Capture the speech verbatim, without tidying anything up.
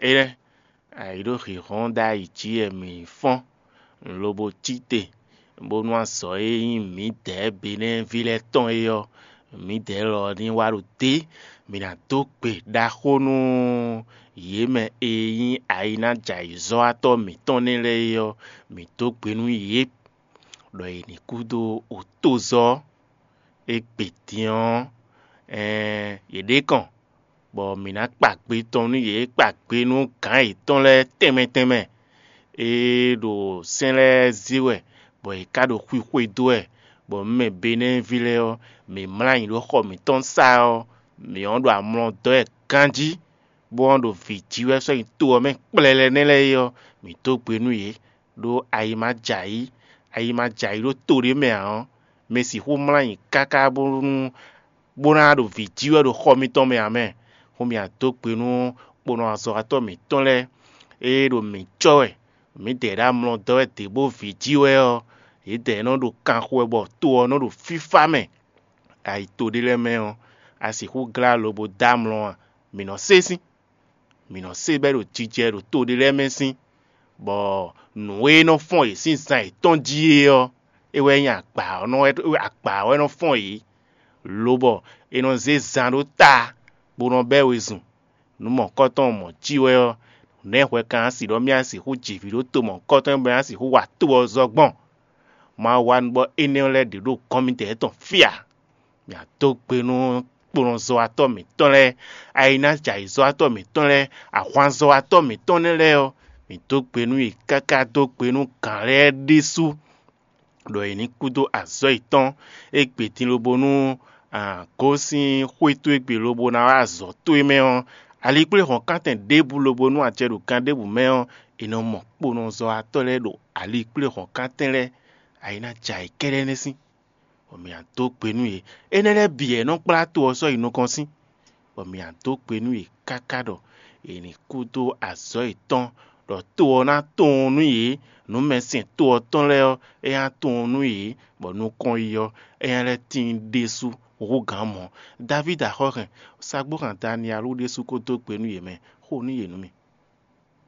Énɛ́, ayǐɖoxǐxɔ́n ɖ'ayǐ jí wɛ mǐ fɔ́n, lobo cí te, bónú azɔ̌ e nyí mǐdɛɛ Benɛ́ɛví lɛ́ɛ tɔn é ɔ́, mǐdɛɛ lɔ ní wá ɖo dě. Mǐ ná dó gbe ɖaxó nú yě mɛ e nyí ayǐnájɛayǐzɔ́watɔ́ mǐtɔn nɛ́ lɛ́ɛ é ɔ́, mǐ dó gbe nú yě, ɖɔ yě ní kú dó otozɔ́ égbé din ɔ́, ɛɛn yě ɖě kɔn, bɔ mǐ ná kpa gbe tɔn nú yě, kpa gbe nú gǎn yětɔn lɛ́ɛ tɛnmɛ tɛnmɛ. Ée ɖo sɛ́n lɛ́ɛ zé wɛ, bɔ yě ká ɖo xwixwe dó wɛ, bɔ mǐ mɛ Benɛ́ɛví lɛ́ɛ ɔ́, mǐ mlá ayǐ ɖó xɔ mǐtɔn sá ɔ́, mǐ ɔ́ ɖo amlɔ dɔ́ wɛ ganjí, bó ɔ́ ɖo vǐ jí wɛ sɔ́ nyi to ɔ́ mɛ kplɛlɛ nɛ́ lɛ́ɛ é ɔ́, mǐ dó gbe nú yě, ɖó ayi ma jɛ ayǐ, ayi ma jɛ ayǐ ɖó to ɖé mɛ ǎ ɔ́, mi sixú mlá nyi káká bónú bó ná ɖo vǐ jí wɛ ɖo xɔ mitɔn mɛ ǎ mɛ. Xó mi a dó gbe nú kponɔ azɔ̌watɔ́ mǐtɔn lɛ́ɛ, ée ɖo mǐ cɔ́ wɛ, mǐdɛɛ ɖo amlɔ dɔ́ wɛ dě bó vǐ jí wɛ ɔ́, yědɛɛ nɔ ɖo kanxo wɛ bɔ to ɔ́ nɔ ɖo fífá mɛ. Ayi to ɖé lɛ́ɛ mɛ ɔ́, a sixú glá lobo dó amlɔ a? Mǐ nɔ sé sín, mǐ nɔ sé bɔ é ɖo jijɛ ɖo to ɖé lɛ́ɛ mɛ sín, bɔ nǔ e nɔ fɔ́n yě sín zan yětɔn jí é ɔ́, é wɛ nyí agbǎ ɔ́ nɔ agba ɔ́ wɛ nɔ fɔ́n yě, lobɔ è nɔ zé zan ɖó ta, bó nɔ bɛ́ wezun. Nǔ mɔ̌hunkɔtɔn mɔ̌ cí wɛ ɔ́, nɛ̌ hwɛ kan ná si ɖɔ mì a sixú ji vǐ ɖó to mɔ̌hunkɔtɔn e bɔ é ná sixú wa to ɔ́ zɔ gbɔn? Mawu wa nú bɔ énɛ́ ɔ́ lɛ́ɛ ɖě ɖo gɔ́n mitɔn fí ǎ. Mǐ a dó gbe nú kplɔnzɔ́watɔ́ mǐtɔn lɛ́ɛ, ayinájɛayǐzɔ́watɔ́ mǐtɔn lɛ́ɛ, ahwanzɔ́watɔ́ mǐtɔn nɛ́ lɛ́ɛ ɔ́, mǐ dó gbe nú yě káká dó gbe nú gǎn lɛ́ɛ ɖésú, ɖɔ yě ní kú dó azɔ̌ yětɔn égbé din lobo nú gosín xwé towe gbe lobo ná wá azɔ̌ towe mɛ ɔ́, alikpléhɔ̌nkántɛn ɖěbǔ lobo nú a jɛ ɖo gan ɖěbǔ mɛ ɔ́, è nɔ mɔ kponɔzɔ́watɔ́ lɛ́ɛ ɖo alikpléhɔ̌nkántɛn lɛ́ɛ, ayinájɛ ayǐ kɛ́ɖɛ́ nɛ́ sín. Bɔ mǐ ná dó gbe nú yě. Énɛ́ lɛ́ɛ bǐ wɛ nɔ kplá to ɔ́ sɔ́ yi nukɔn sín, bɔ mǐ ná dó gbe nú yě káká ɖɔ è nǐ kú dó azɔ̌ yětɔn, ɖɔ to ɔ́ ná tunwun nú yě, nǔmɛsɛn to ɔ́ tɔn lɛ́ɛ ɔ́, é ná tunwun nú yě, bɔ nukɔn yi ɔ́, é ná lɛ́ tíin ɖésú hú gǎn mɔ̌. Davídi axɔ́ hɛn sagbóhan Daniyalú ɖésú kó dó gbe nú yě mɛ, xo nú yě nú mì.